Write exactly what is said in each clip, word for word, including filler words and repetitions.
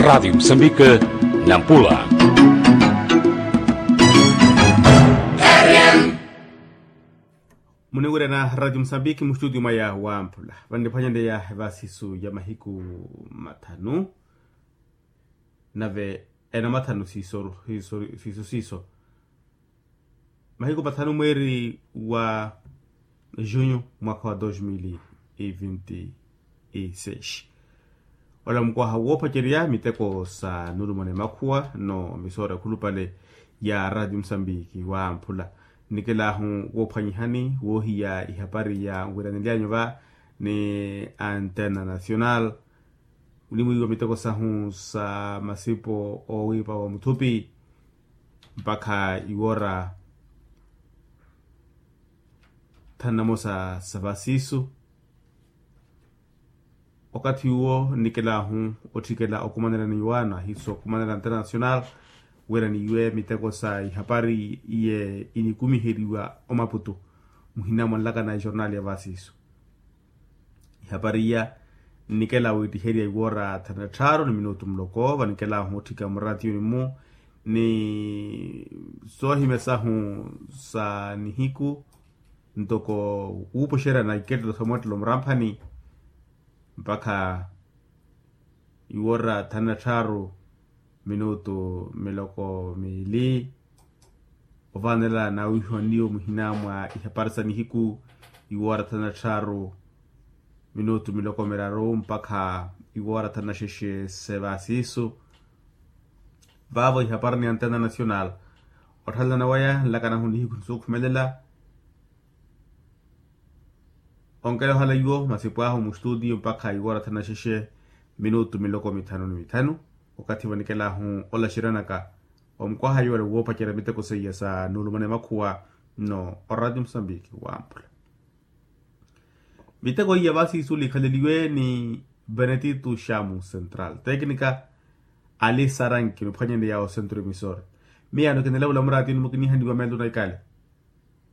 Rádio Moçambique, Nampula. Muniwirana Rádio Moçambique, mustutio mwaya wa Mpula. Vanniphwanyaneya evasisu ya mahiku mathanu, nave ena mathanu siiso siiso siiso. Mahiku mathanu mweeri wa junho mwaka wa dos mil e vinte e seis. Ola mukwaha woopacerya miteko sa nulumana emakhuwa no misoora ekhulupale ya radio musambiki wa mphula. Nnikelaahu woophwanyihani woohiya ihapari ya nwiranilyanyu va ni antena nacional. Munimwiiwa miteko sahu sa masipo oowiipa wa muthupi mpakha iwoora thanu namosa sa vasiisu. Okathi uwo nnikelaahu otthikela okumanela ni iwaano ahiiso okumanela international wira niiwe miteko sa ihapari iye inikumiheriwa omaputu muhina mwanlakana ejornali ya vasiisu. Ihapari iya nnikela wiittiherya iwoora thanu na tthaaru ni minutu muloko vanikela ohutthika muratiyuni-mu ni soohimya sahu sa nihiku ntoko wuupuxeryana ikettelo sa mwettelo muramphani mpakha iwoora thanu na tthaaru minutu miloko miili. Ovaanela nawihiwa niyo muhina mwa ihapari sa nihiku iwoora thanu na tthaaru minutu miloko miraru mpakha iwoora thanu na xexe sevasiisu. Vaavo ihapari ni antena nacional otthalelana waya nlakanahu nihiku nisuukhumelela. Onkela ohala iwo masipo ahu mustutiyo mpakha iwoora thanu na xexe minutu miloko mithanu ni mithanu. Okathi vanikelahu olaxeryanaka omukwaha iwala woopacerya miteko seiya sa nuulumana emakhuwa nno orati musambiki wamphula. Miteko iya vasiisu likhaleliwe ni benetito xamu central teknika ali saranki miphwanyanle ya osentro emisor. Miyaano kinilavula muratini mukinihaniwa meelo na ikale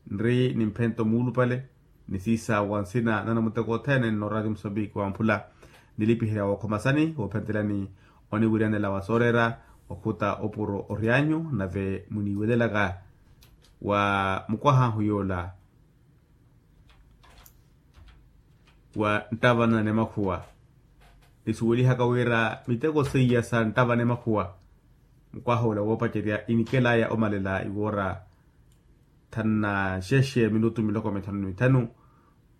nri ni mphento muulupale ni siisa wa nsina nanamuteko othene nno radio musambiki wamphula. Nilipiherya wookhomasani woophentelani oniwiryanela wa sooreera okhuta opuro oryanyu nave muniiwelelaka wa mukwahahu yoola wa nttavanana emakhuwa. Nisuwelihaka wira miteko seiya sa nttavana emakhuwa mukwaha ola woopacerya inikelaya omalela iwoora thanu na xexe minutu miloko mithanu ni mithanu.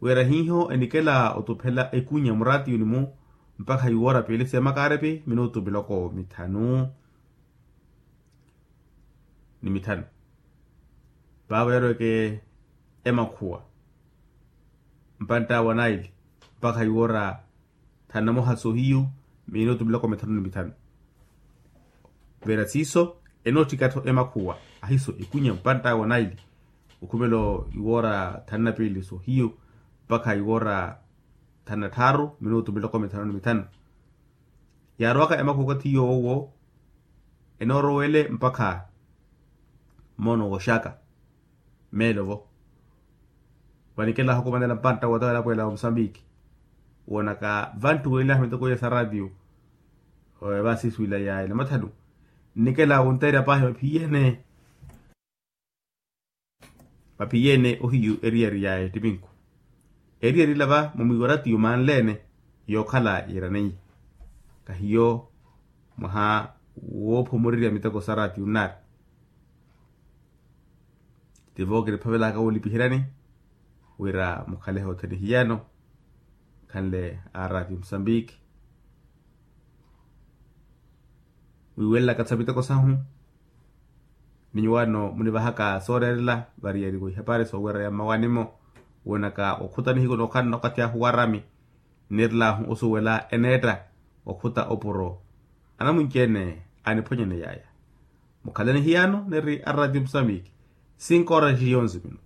Wira hiiho enikela otuphela ekunya muratiyuni-mu mpakha iwoora piili seemakarepi minutu miloko mithanu ni mithanu. Vaavo yaroweke emakhuwa mpantta wa naili mpakha iwoora thanu na moha soohiyu minutu miloko mithanu ni mithanu. Vira siiso enootthika-tho emakhuwa ahiiso ekunya mpantta wa naili okhumelo iwoora thanu na piili soohiyu mpakha iwoora thanu na tthaaru minutu miloko mithanu ni mithanu. Yaarowaka emakhuwa okathi yoowo enoorowele mpakha moono wooxaka meelo-vo. Vanikelahu okumanela mpantta wootawa elapuwela wa musambiki woonaka vanttuwelilahu miteko iya sa ratio vasiiswila ya ela mathanu. Nnikela wunteerya paahi vaphiyeene vaphiyeene ohiyu eriyari ya ettiminku. Eriyari ila va mumwiiwa ratio maanleene yookhala yiiraneiye kahiyo mwaha woophomorerya miteko sa ratio nnaari. Tivo kiniphavelaka woolipiheryani wira mukhalehe othene hiyano khanle a ratio musambiki. Wiiwelelaka sa miteko sahu ni nyuwaano munivahaka sooreerela variyari wa ihapari soowerya mmawaani-mo woonaka okhuta nihiku nookhala okathi ahu warami. Nniirelaahu osuwela eneetta okhuta opuro anamunci-ene aniphwanyaneyaya. Mukhalani hiyano niri a ratio musambiki cinco horas e onze minutos.